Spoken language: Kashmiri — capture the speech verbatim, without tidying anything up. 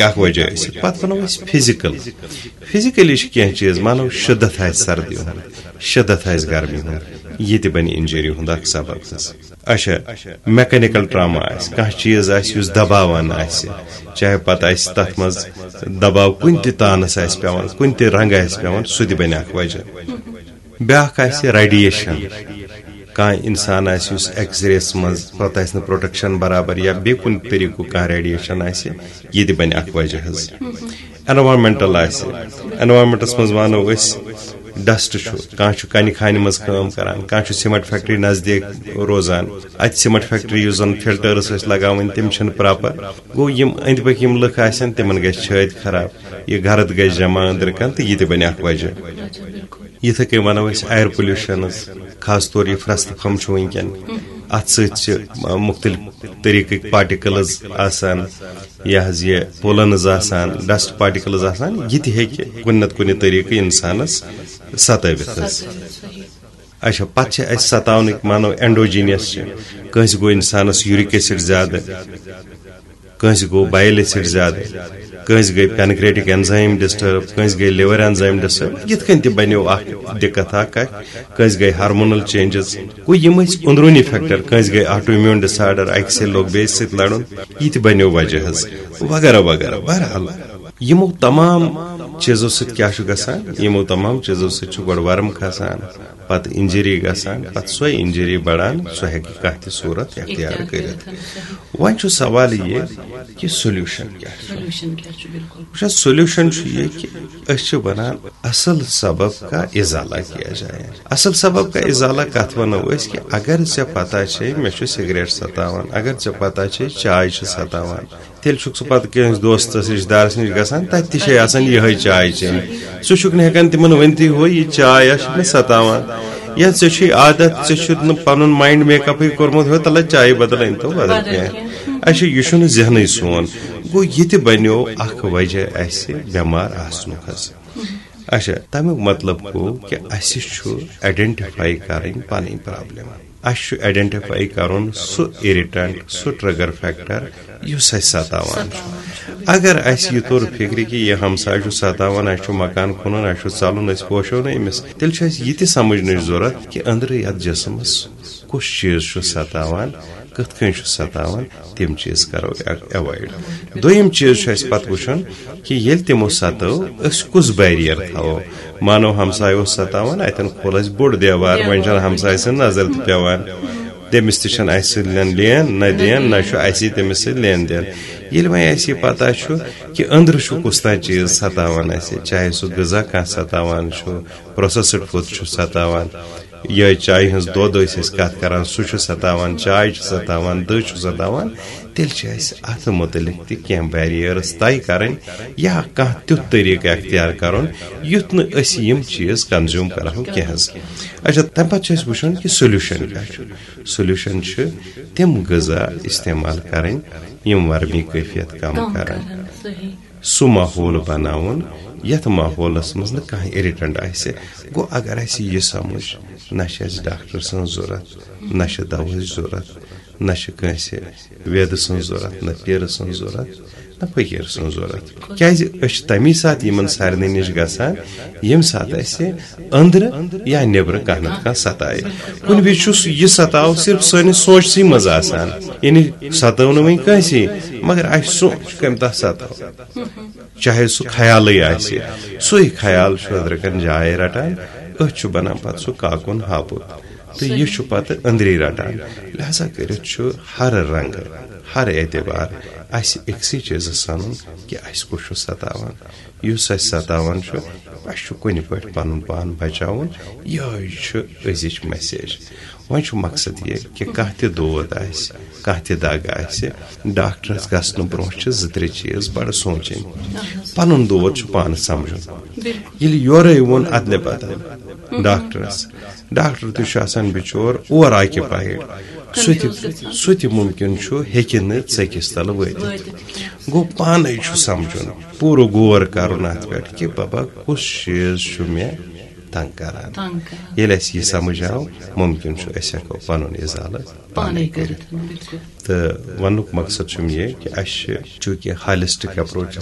اکھ وجہ ٲسِتھ۔ پتہٕ ونو أسۍ فزیکل۔ فزیکلی چھِ کینٛہہ چیٖز، مانو شدت آسہِ سردی ہُنٛد، شدت آسہِ گرمی ہُنٛد، یہِ تہِ بنہِ انجری ہُنٛد اکھ سبب حظ۔ اچھا، میکینیکل ٹراما آسہِ، کانٛہہ چیٖز آسہِ یُس دباوان آسہِ، چاہے پتہٕ آسہِ تتھ منٛز دباو کُنہِ تہِ تانس آسہِ پٮ۪وان، کُنہِ تہِ رنٛگہٕ آسہِ پٮ۪وان، سُہ تہِ بنہِ اکھ وجہ۔ بیٛاکھ آسہِ ریڈیشن۔ کانٛہہ انسان آسہِ یُس ایکس ریس منٛز، پتہٕ آسہِ نہٕ پروٹیکشن برابر یا بیٚیہِ کُنہِ طریٖقُک کانٛہہ ریڈیشن آسہِ، یہِ تہِ بنہِ اکھ وجہ حظ۔ اینوارمینٹل آسہِ، اینوارمینٹس منٛز وَنو أسۍ ڈسٹ چھُ، کانٛہہ چھُ کنہِ خانہِ منٛز کٲم کران، کانٛہہ چھُ سیمنٹ فیکٹری نزدیٖک روزان، اتہِ سیمنٹ فیکٹری یُس زن فلٹرس ٲسۍ لگاوٕنۍ تِم چھِنہٕ پراپر۔ گوٚو، یِم أنٛدۍ پٔکۍ یِم لُکھ آسن تِمن گژھِ چھٲتۍ خراب، یہِ گرد گژھِ جمع أنٛدرٕ کن تہٕ یہِ تہِ بنہِ اکھ وجہ۔ یِتھے کٔنۍ ونو أسۍ ایئر پولوشنز، خاص طور یہِ فرست پھم چھُ وٕنکیٚن، اتھ سۭتۍ چھِ مختلف طریقٕکۍ پارٹیکلز آسان، یہِ حظ یہِ پولنز آسان، ڈسٹ پارٹیکلز آسان، یہِ تہِ ہیٚکہِ کُنہِ نتہٕ کُنہِ طریقہٕ انسانس ستٲوِتھ حظ۔ اچھا، پتہٕ چھِ اسہِ ستاونٕکۍ مانو اینڈوجینس چھِ، کٲنٛسہِ گوٚو انسانس یوٗرک ایسڈ زیادٕ، کٲنٛسہِ گوٚو بایل ایسڈ زیادٕ، کٲنٛسہِ گٔے پینکریٹک انزائم ڈسٹرب، کٲنٛسہِ گٔے لور انزائم ڈسٹرب، یِتھ کٔنۍ تہِ بنیو اکھ دقت اکھ، کٲنٛسہِ گٔے ہارمونل چینجز۔ گوٚو، یِم ٲسۍ اندروٗنی فیکٹر، کٲنٛسہِ گٔے آٹو امیون ڈس آرڈر، اکہِ سۭتۍ لوٚگ بیٚیہِ سۭتۍ لڑُن، یہِ تہِ بنیو وجہ حظ، وغیرہ وغیرہ۔ بہرحال، یِمو تمام چیٖزو سۭتۍ کیٛاہ چھُ گژھان؟ یِمو تمام چیٖزو سۭتۍ چھُ گۄڈٕ ورم کھسان، پتہٕ انجری گژھان، پتہٕ سۄے انجری بڑان، سۄ ہیٚکہِ کانٛہہ تہِ صوٗرت اختیار اختیار کٔرِتھ۔ کٔرِتھ، صحیح۔ وۄنۍ چھُ سوال یہِ کہِ سولوشن کیٛاہ چھُ؟ سولوشن کیٛاہ چھُ؟ بِلکُل۔ وٕچھ حظ، سولوشن چھُ یہِ کہِ أسۍ چھِ وَنان اصل سبب کا ازالہ کیا جائے۔ اصل سبب کا ازالہ کتھ ونو أسۍ؟ کہِ اگر ژےٚ پتہ چھے مےٚ چھُ سگریٹ ستاوان، اگر ژےٚ پتہ چھے چاے چھِ ستاوان، تیٚلہِ چھُکھ ژٕ پتہٕ کٲنٛسہِ دوستس، رشتہٕ دارس نِش گژھان، تتہِ تہِ چھے آسان یِہے چاے چیٚنۍ۔ ژٕ چھُکھ نہٕ ہٮ۪کان تِمن ؤنتھٕے، ہو، یہِ چاے ہا چھِ مےٚ ستاوان، یا ژےٚ چھُے عادت، ژےٚ چھُتھ نہٕ پنُن مایِنڈ میک اپٕے کوٚرمُت، ہو، تلہ چایہِ بدل أنۍ تو بدل بدل کینٛہہ۔ کینٛہہ۔ اچھا، یہِ چھُنہٕ ذہنٕے سون۔ گوٚو، یہِ تہِ بنیو اکھ وجہ اسہِ بٮ۪مار آسنُک حظ۔ اچھا، تمیُک مطلب گوٚو کہِ اسہِ چھُ آئیڈینٹیفائی کرٕنۍ پنٕنۍ پرابلم۔ اسہِ چھُ آئیڈینٹیفائی کرُن سُہ اریٹنٹ، سُہ ٹریگر فیکٹر یُس اسہِ ستاوان چھُ۔ اگر اسہِ یہِ توٚر فکرِ کہِ یہِ ہمساے چھُ ستاوان، اسہِ چھُ مکان کٕنُن، اسہِ چھُ ژلُن، أسۍ پوشو نہٕ أمِس، تیٚلہِ چھُ اسہِ یہِ تہِ سمجھنٕچ ضروٗرت کہِ أنٛدرٕ یتھ جسمس کُس چیٖز چھُ ستاوان، کِتھ کٔنۍ چھُ ستاوان، تِم چیٖز کرو ایوایڈ۔ دوٚیِم چیٖز چھُ اسہِ پتہٕ وٕچھُن کہِ ییٚلہِ تِمو ستٲو، أسۍ کُس بیریئر تھاوو۔ مانو ہمسایہِ اوس ستاوان، اتٮ۪ن کھول اسہِ بوٚڑ دیوار، وۄنۍ چھنہٕ ہمسایہِ سٕنٛز نظر تہِ پٮ۪وان، تٔمِس تہِ چھنہٕ اسہِ سۭتۍ لین، لین نہ دین، نہ چھُ اسی تٔمِس سۭتۍ لین دین۔ ییٚلہِ وۄنۍ اسہِ یہِ پتہ چھُ کہِ أنٛدرٕ چھُ کُس تام چیٖز ستاوان اسہِ، چاہے سُہ غذا کانٛہہ ستاوان چھُ، پروسیسڈ فوڈ چھُ ستاوان، یا چایہِ ہٕنٛز دۄد ٲسۍ أسۍ کتھ کران، سُہ چھُ ستاوان، چاے چھِ ستاوان، دٔہ چھُ ستاوان، تیٚلہِ چھِ اَسہِ اَتھ مُتعلِق تہِ کینٛہہ بیریئرس طے کرٕنۍ یا کانٛہہ تیُتھ طریٖقہٕ اختیار کرُن، یُتھ نہٕ أسۍ یِم چیٖز کنزیوم کرہو کینٛہہ حظ۔ اچھا، تَمہِ پتہٕ چھُ اَسہِ وٕچھُن کہِ سولوشن کیٛاہ چھُ۔ سولوشن چھُ تِم غذا استعمال کرٕنۍ، یِم ورمی کیفیت کم کم کرن۔ کرن، صحیح۔ سُہ ماحول بناوُن، یتھ ماحولس منٛز نہٕ کانٛہہ اِرِٹنٹ آسہِ۔ گوٚو، اگر اسہِ یہِ سمجھ، نہ چھِ اسہِ ڈاکٹر سٕنٛز ضروٗرت، نہ چھِ دوہٕچ ضروٗرت، نہ چھِ کٲنٛسہِ ویدٕ سٕنٛز ضروٗرت، نہ پیٖرٕ سٕنٛز ضروٗرت، نہ فقیٖر سٕنٛز ضروٗرت۔ کیٛازِ أسۍ چھِ تمی ساتہٕ یِمن سارنٕے نِش گژھان، ییٚمہِ ساتہٕ اسہِ أنٛدرٕ یا نیٚبرٕ کانٛہہ نتہٕ کانٛہہ ستایہِ۔ کُنہِ وِزِ چھُ سُہ یہِ ستاو صرف سٲنِس سونٛچسٕے منٛز آسان، یعنی ستٲو نہٕ وۄنۍ کٲنٛسے، مگر اسہِ سونٛچ کمہِ دۄہ ستٲو۔ چاہے سُہ خیالٕے آسہِ، سُے خیال چھُ أنٛدرٕ کَنہِ جاے رَٹان، أتھۍ چھُ بَنان پَتہٕ سُہ کاکُن ہاپُت۔ تہٕ یہِ چھُ پَتہٕ أنٛدری رَٹان۔ لہذا کٔرِتھ چھُ ہر رنٛگہٕ، ہر اعتبار اَسہِ أکسٕے چیٖزَس سَنُن کہِ اَسہِ کُس چھُ سَتاوان۔ یُس اَسہِ سَتاوان چھُ، اَسہِ چھُ کُنہِ پٲٹھۍ پَنُن پان بَچاوُن، یِہوٚے چھُ أزِچ message۔ وۄنۍ چھُ مقصد یہِ کہِ کانٛہہ تہِ دود آسہِ، کانٛہہ تہِ دگ آسہِ، ڈاکٹرس گژھنہٕ برونٛہہ چھِ زٕ ترٛےٚ چیٖز بڑٕ سونٛچٕنۍ۔ پنُن دود چھُ پانہٕ سمجھُن۔ ییٚلہِ یورے ووٚن ادلہِ بدل ڈاکٹرس، ڈاکٹر تہِ چھُ آسان بِچور اوور آکیوپایڈ، سُہ تہِ، سُہ تہِ مُمکِن چھُ ہیٚکہِ نہٕ ژٔکِس تل وٲتِتھ۔ گوٚو پانے چھُ سمجھُن، پوٗرٕ غور کرُن اتھ پٮ۪ٹھ کہِ ببا کُس چیٖز چھُ مےٚ تنگ کران۔ تنگ کران۔ ییٚلہِ اَسہِ یہِ سمجھ آو، مُمکِن چھُ أسۍ ہٮ۪کو پَنُن اِزالہٕ پانے پانے کٔرِتھ۔ کٔرِتھ، بِلکُل۔ تہٕ وَننُک مقصد چھُم یہِ کہِ اَسہِ چھِ چوٗنٛکہِ ہالِسٹِک اپروچَس